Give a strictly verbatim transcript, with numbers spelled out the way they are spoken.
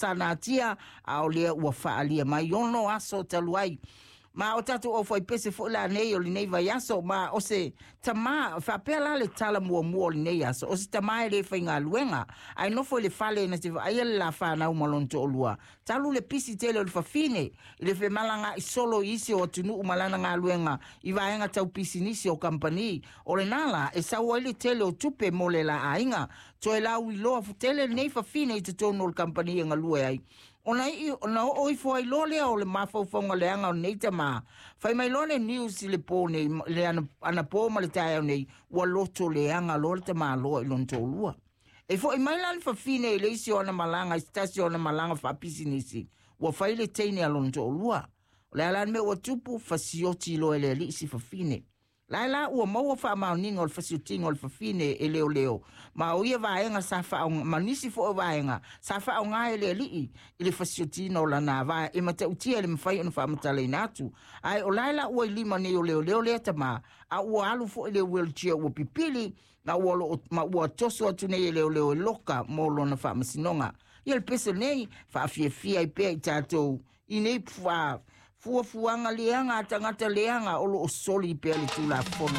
sa natia, a o lea ua faaalia mai ono aso talu ai. Ma o tatou aufaipese foi lanei o lenei vaiaso, ma o se tamā faapea la le tala muamua o lenei aso, o se tamā e lē faigaluega ae nofo i le fale na te vaaia le lafanau ma lona toalua talu le pisi tele o le fafine i le femalagaai solo i isi o atunuu ma lana galuega i vaega tau pisinisi o kamupani o lenā la e sau ai le tele o tupe mo le la aiga. Toe lauiloa tele lenei fafine i totonu o le kamupani e galue ai ona ii ona oo ifo ai loa lea o le mafaufauga leaga o lenei tamā. Fai mai loa le news i le pō nei, le anapō ma le taeao nei, ua loto leaga loa le tamāloa i lona toalua. E foʻi mai la le fafine i le isi o ana malaga i se tasi o ana malaga faapisinisi, ua fai le teine a lona toalua. O le a la le mea ua tupu? Fasioti loa e le alii si fafine lae la ua maua faamaoniga o le fasiotiga o le fafine e leoleo ma o ia vaega sa faaaoga ma nisi foi o vaega sa faaaoga e le alii i le fasiotina o lana ava e matautia e le mafai ona faamatalaina atu. Ae o lae la ua i lima nei o leoleo lea tamā, a ua alu foi le wheelchair ua pipili ma ua, lo, ma ua toso atu nei e leoleo e loka mo lona faamasinoga. Ia le pese nei faafiafia ai pea i tatou i nei fuafuaga leaga a tagata leaga o loo soli pea le tulafono.